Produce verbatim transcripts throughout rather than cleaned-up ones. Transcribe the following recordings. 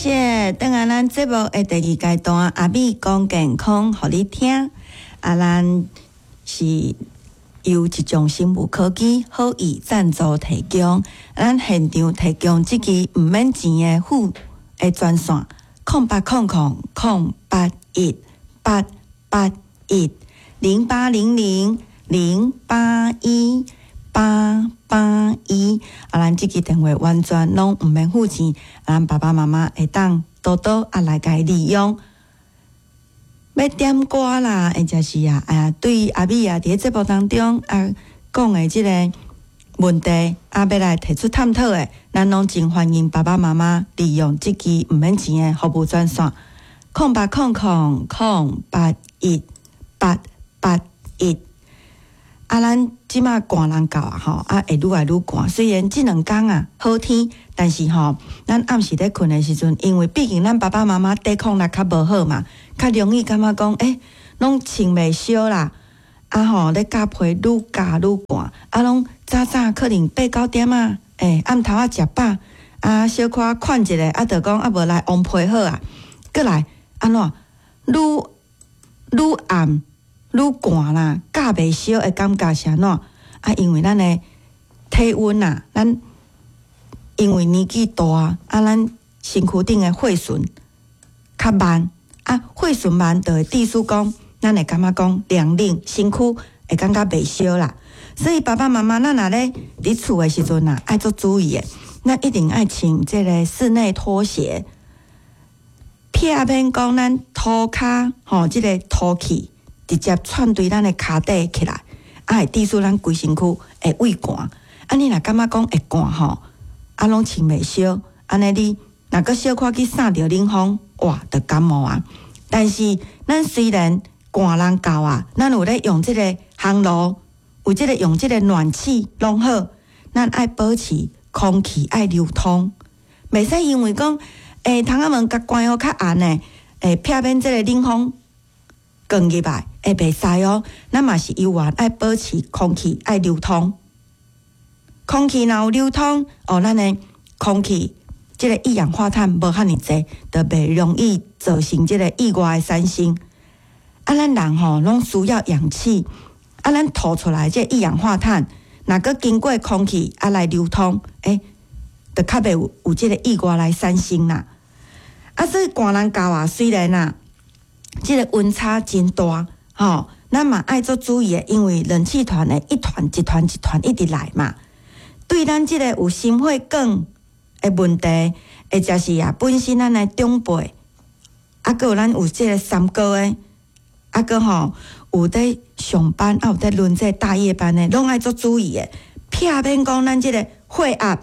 謝。轉來咱節目的第二階段，阿美講健康，予你聽。啊，咱是由一眾生物科技好意贊助提供，咱現場提供這支毋免錢的服的專線：空八空空空八一八八一零八零零零八一八八一。啊，咱這支電話完全攏毋免付錢，咱爸爸媽媽會當多多啊來共利用。欲點歌啦，或者是啊，啊，對阿美啊，佇咧節目當中啊講的這个問題，啊，欲來提出探討的，咱攏真歡迎爸爸媽媽利用這支毋免錢的服務專線：空八空空空八一八八一。啊，咱這馬寒人到啊，吼，啊會愈來愈寒。雖然這兩工啊好天，但是吼，咱暗時咧睏的時陣，因為畢竟咱爸爸媽媽抵抗力較無好嘛，較容易感覺講，欸，攏穿袂少啦，啊吼，咧加被愈加愈寒，啊，攏早早可能八九點啊，欸，暗頭仔食飽，啊，小可睏一下，啊，就講啊，無來癀被好啊，閣來按怎，愈愈暗愈寒啦，蓋袂燒的感覺是按怎？啊，因為咱的體溫啊，咱因為年紀大，啊，咱身軀頂的血循較慢，啊，血循慢就會致使講，咱會感覺講涼冷，身軀會感覺袂燒啦。所以爸爸媽媽，咱若咧佇厝的時陣啊，愛足注意的，咱一定愛穿這个室內拖鞋，避免講咱塗跤吼，這个土氣直接竄對咱的跤底起來，啊會致使咱規身軀會畏寒。啊，你若感覺講會寒吼，啊攏穿袂少，按呢你若閣小可去捎著冷風，哇，就感冒啊。但是咱雖然寒人到啊，咱有咧用這个烘爐，有這个用這個暖氣攏好，咱愛保持空氣愛流通，袂使因為講，欸，窗仔門共關予較絚的，欸，避免這个冷風灌入來，會袂使哦。咱嘛是猶原愛保持空氣愛流通，空氣若有流通，哦，咱的空氣這个一氧化碳無遐爾濟，就袂容易造成這个意外的產生。啊，咱人吼攏需要氧氣，啊，咱吐出來這一氧化碳，若閣經過空氣啊來流通，欸，就較袂有有這个意外來產生啦。啊，所以寒人到啊，雖然啊，這个溫差真大，吼，咱嘛愛足注意的，因為冷氣團會一團一團一團一直來嘛。對咱這個有心血管的問題，或者是啊，本身咱的長輩，啊，閣有咱有這个三高的，啊，閣吼有佇上班，啊有佇輪這大夜班的，攏愛足注意的，避免講咱這个血壓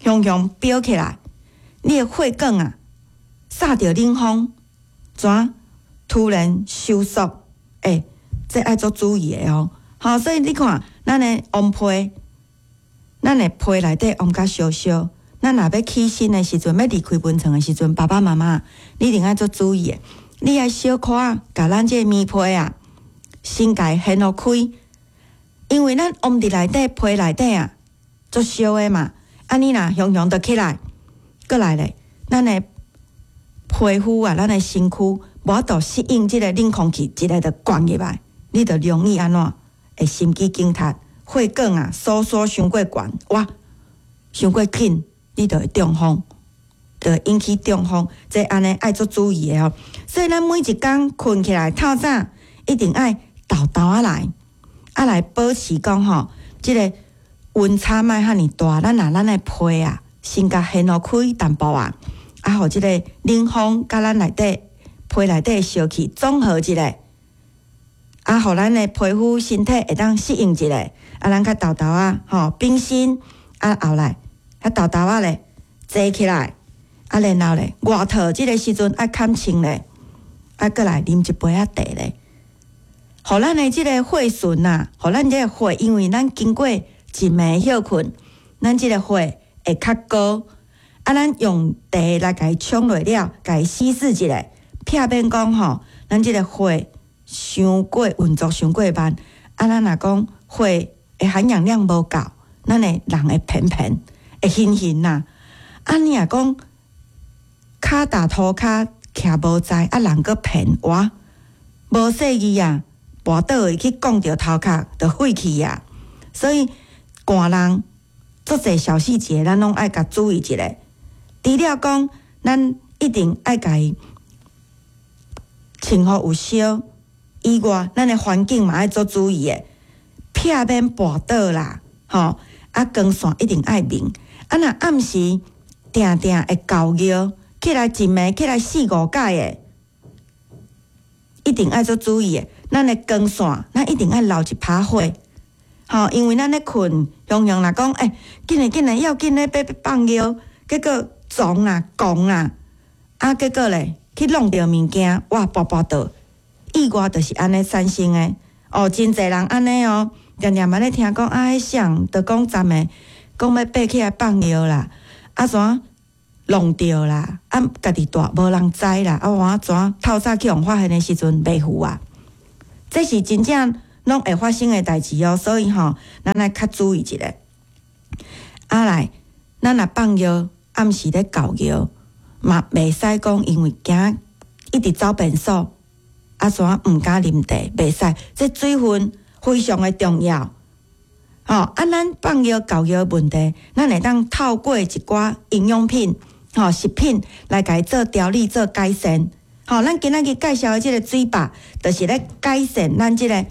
雄雄飆起來，你的血管啊，捒著冷風，怎突然收縮？欸，這愛足注意的哦。好，所以你看，咱的癀被，咱的被內底癀較燒燒。咱若欲起身的時陣，欲離開溫床的時陣，爸爸媽媽，你一定愛足注意的。你愛小可共咱這个棉被啊，先共伊掀予開，因為咱癀佇內底被內底啊，足燒的嘛。啊，你若雄雄就起來，閣來咧，咱的皮膚啊，咱的身軀無法度適應這个冷空氣，一下就灌入來，你就容易按怎會心肌梗塞、血管啊收縮傷過懸，哇，傷過緊，你就會中風，就會引起中風。這按呢愛足注意的哦。所以咱每一工睏起來透早，一定愛沓沓仔來，啊來保持講吼，這个溫差莫遐爾大。咱若咱的被啊，先共掀予開淡薄仔，啊，予這个冷風佮咱內底被內底燒氣綜合一下，啊，予咱的皮膚身體會當適應一下，啊，咱較沓沓仔吼，反身，啊，後來較沓沓仔咧坐起來，啊，然後咧外套這个時陣愛崁穿咧，啊，閣來啉一杯仔茶咧，予咱的這个血循啊，予咱這个血，因為咱經過一暝歇睏，咱這个血會較高，啊，咱用茶來共伊沖落了，共伊稀釋一下，避免講吼，咱這个血傷過運作傷過慢，啊，咱若講血的含氧量無夠，咱的人會偏偏會暈暈啦。啊，你若講跤踏塗跤徛無在，啊人閣騙，哇，無細意啊，跋倒會去摃著頭殼，就廢去啊。所以寒人足濟小細節，咱攏愛共注意一下。除了講，咱一定愛共伊穿予有燒以外，咱的環境嘛愛做注意的，避免跋倒啦，吼啊光線一定愛明。啊若暗時定定會猴尿，起來一暝起來四五擺的，一定愛做注意的。咱的光線，咱一定愛留一趴火，吼，因為咱咧睏，雄雄若講，欸，緊來緊來，要緊咧欲放尿，結果撞啦、摃啦，啊，結果咧去弄著物件，哇，跋跋倒，意外就是按呢產生的。哦，真濟人按呢哦，定定嘛咧聽講啊，彼誰就講昨暝講欲爬起來放尿啦，啊怎弄著啦，啊家己蹛無人知啦，啊我怎透早去予發現的時陣袂赴啊。這是真正攏會發生的代誌哦，所以吼，咱愛較注意一下。啊來，咱若放尿，暗時咧猴尿，嘛袂使講因為驚一直走便所，啊怎毋敢啉茶，袂使。這水分非常的重要。吼，啊，咱放尿猴尿問題，咱會當透過一寡營養品、吼食品來共伊做調理、做改善。吼，咱今仔日介紹的這個水飽，就是咧改善咱這個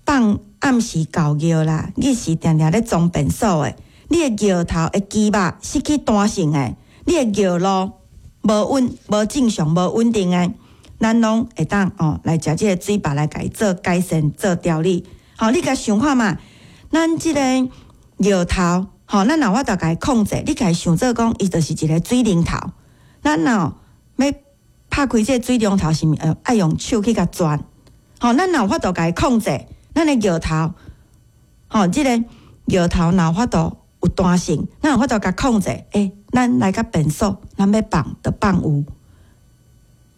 放暗時猴尿啦，日時定定咧裝便所的，你的尿頭的肌肉失去彈性的，你的尿路無穩、無正常、無穩定的，咱攏會當哦來食這個水飽來共伊做改善、做調理。吼，你共想看覓，咱這個尿頭，吼，咱若有法度共伊控制，你共伊想做講，伊就是一個水龍頭。咱若欲拍開這個水龍頭，是毋是愛用手去共轉？吼，咱若有法度共伊控制，咱的尿頭，吼，這個尿頭若有法度有彈性，咱有法度共控制，欸，咱來到便所，咱欲放就放有。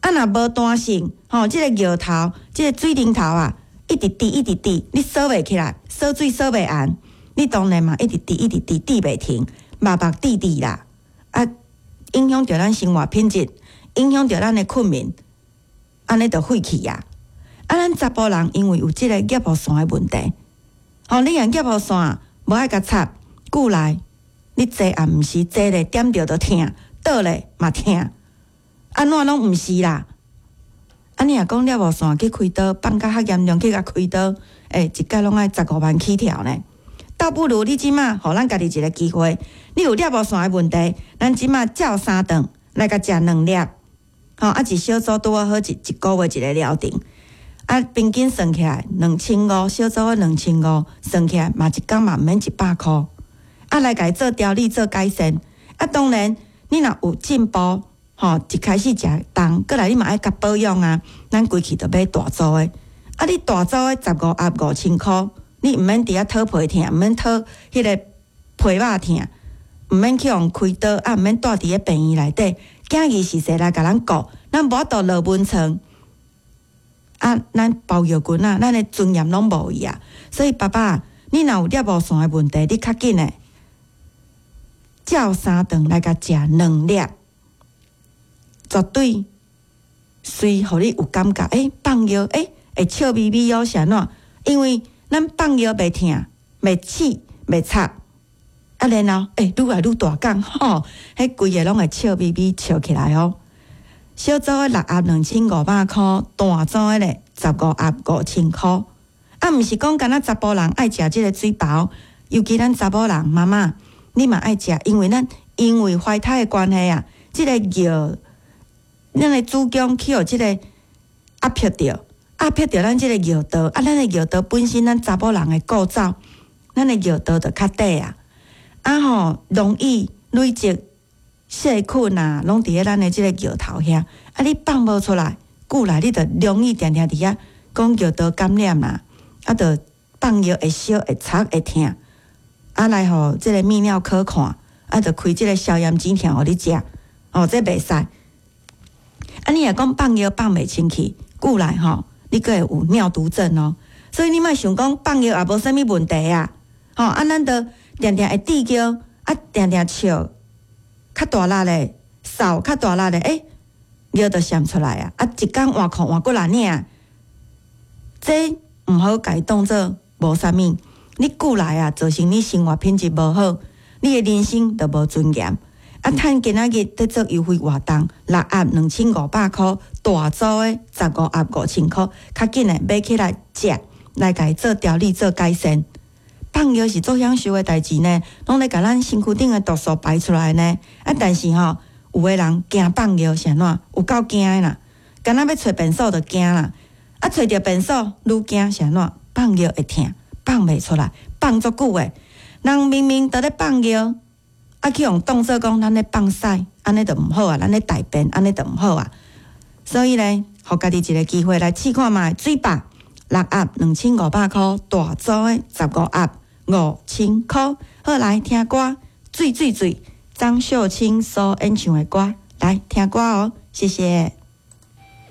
啊，若無彈性，吼，這個尿頭，這個水龍頭啊，一直滴，一直滴，你鎖袂起來，鎖水鎖袂絚，你當然嘛一直滴，一直滴，滴袂停，目目滴滴啦，啊，影響著咱生活品質，影響著咱的睏眠，按呢就廢去啊！啊，咱查埔人因為有這個尿布線的問題，吼，你用尿布線無愛共插，久來你坐也毋是坐咧點著就疼，倒咧嘛疼，按怎攏毋是啦。啊，你若講尿布線去開刀，放甲較嚴重去共開刀，欸，一擺攏愛十五萬起跳呢。倒不如你這馬予咱家己一個機會，你有尿布線的問題，咱這馬照三頓來共食兩粒，吼，啊，一小組拄好一一個月一個療程，啊，平均算起來兩千五，小組的兩千五算起來嘛，一工嘛毋免一百箍，啊，來共伊做調理做改善，啊，當然你若有進步，吼，一開始食重，過來你嘛愛共保養啊，咱規氣就買大組的，啊，你大組的十五盒五千箍。你毋免佇遐討皮疼，毋免討彼個皮肉疼，毋免去予開刀，啊，毋免蹛佇咧病院內底，囝兒是誰來共咱顧？咱無法度落眠床，啊，咱包尿裙仔，咱的尊嚴攏無去啊！所以爸爸，你若有尿布線的問題，你較緊的，照三頓來共食兩粒，絕對隨予你有感覺，欸，放尿，欸，會笑眯眯哦，是按怎？因為咱放尿袂疼、袂刺、袂插，啊，然後欸，愈來愈大管吼，彼規个攏會笑眯眯笑起來哦。小組的六盒兩千五百箍，大組的咧十五盒五千箍。啊，毋是講干焦查埔人愛食這個水飽，尤其咱查某人媽媽，你嘛愛食，因為咱因為懷胎的關係啊，這個尿，咱的子宮去予這個壓迫著。壓迫著咱這個尿道，啊，咱的尿道本身咱查某人的構造，咱的尿道就較短啊，啊吼，容易累積細菌啊，攏佇咧咱的這個尿頭遐，啊，你放無出來，久來你就容易定定佇遐講尿道感染啦，啊，就放尿會燒、會插、會疼，啊，來予這個泌尿科看，啊，就開這個消炎止痛予你食，哦，這袂使。啊，你若講放尿放袂清氣，久來吼，你閣會有尿毒症哦，所以你莫想講放尿也無啥物問題啊，吼啊，咱就定定會滴尿，啊，定定笑，較大力咧，掃較大力的，欸，尿就滲出來啊！啊，一工換褲換幾若領，這毋好共伊當做無啥物。你久來啊，造成你生活品質無好，你的人生就無尊嚴。啊，趁今仔日佇做優惠活動，六盒兩千五百箍，大組的十五盒五千箍，較緊的買起來食，來共伊做調理做改善。放尿是足享受的代誌呢，攏咧共咱身軀頂的毒素排出來呢。啊，但是吼，有的人驚放尿是按怎？有夠驚的啦，敢若欲揣便所就驚啦。啊，揣著便所愈驚是按怎？放尿會疼，放袂出來，放足久的。人明明佇咧放尿，啊，去予當做講咱咧放屎，按呢就毋好啊，咱咧大便，按呢就毋好啊。所以咧，予家己一个機會來試看覓，水壩六盒兩千五百箍，大組的十五盒五千箍。好，來聽歌，水水水，張秀卿所演唱的歌，來聽歌哦，謝謝。